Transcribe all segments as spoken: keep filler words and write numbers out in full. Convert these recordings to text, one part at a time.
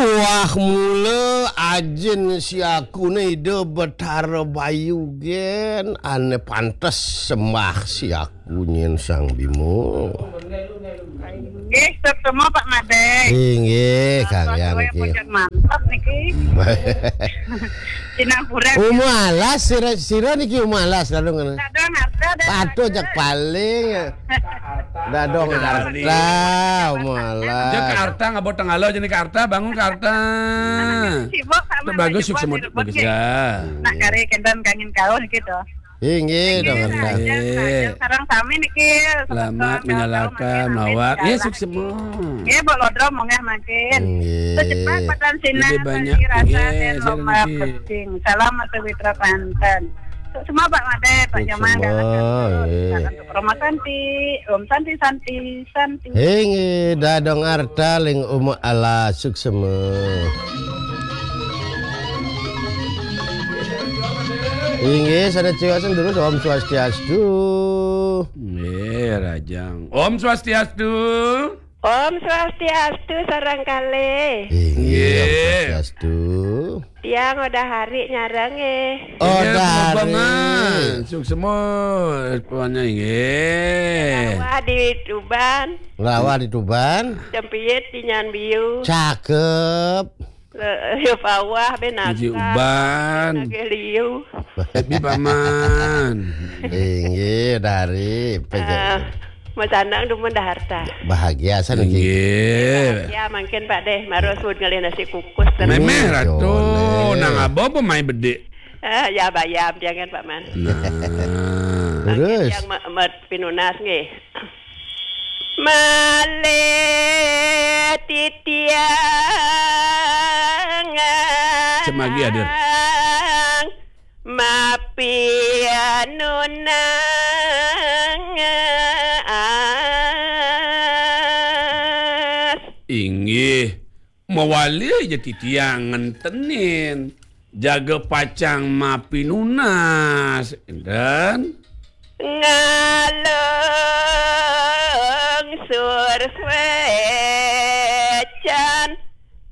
Wah mula ajin siaku ne Ida Betara Bayu gen, ane pantes sembah siaku nyen Sang Bima. Nggih, semua Pak Made. Inggih, Kang Yan niki. Mantap niki. Cinang kurang. Uma alas, sira, sira niki uma alas lalu ngene. Dadong harta dan patuh jak paling. Dadong harta, uma alas. Jak ke harta, ngabot tenggala jenis ke harta, bangun ke harta. Sibuk sama. Bagus, sukses, bagus ya. Nak kari kendan kangin kaun gitu. Inggih, dong. Inggih, Raja, Raja. Sareng sami niki, selamat menyalakan, mawar. Nggih, sukses semua. Nggih, Mbok Lodro munggah mangkin. Inggih. Secepat patan sinar, lebih banyak, rasa nggih, dan lomba niki. Salam Mas Witra Panten. Untuk semua Pak Made, Pak Jamal, semua, nggih. Untuk Roma Santi, Om Santi, Santi, Santi. Inggih, dadong arta ling uma ala suksema. Inggih, sanes ciwasan terus Om Swastiastu. Nggih, Rajang. Om Swastiastu. Om Swastiastu, sareng kalih. Inggih, Om Swastiastu. Tiang udah hari nyareng, eh. Oh, dari. Sukses semua, semuanya, inggih. Rawa di Tuban. Rawa di Tuban. Cempiit di Nyanbiu. Cakep. Le-, ya, Pawah, ben Uji Akang, Uban. Nagih Liu. Happy Paman. Inggih, dari. Ah, Mas Anang dumun dah harta. Bahagia, sana, Ki. Inggih. Ya, mangkin Pak deh, maros ud ngalih nasi kukus. Memeh, Ratu. Boleh. Nang abang apa main bedik? Ah, ya, bayam, jangan, Pak Man. Nah. Terus? Yang me-, me-, pinunas, nggih. Malih titiang. Cemagi hadir. Mapi nunang as. Inggih, mawali aja titiang ngentenin. Jaga pacang mapinunas, enten? Ngalungsur suecan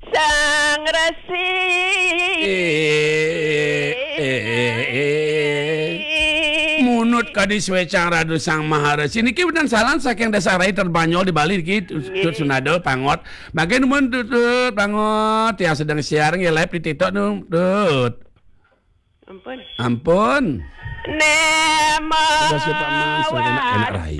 Sang Resi. Eh, eh, eh, eh. Munut kadi suecang Ratu Sang Maharesi. Niki wénten salam saking Desa Rai Terbanyol di Bali niki, Tut Sunada, pangot. Mangkin nuwun, Tut, Tut, pangot, tiang sedeng siar nggih, live di TikTok nu, Tut. Ampun. Ampun. Nemo. Terima kasih, Pak Mas. Enak, enak, Rai.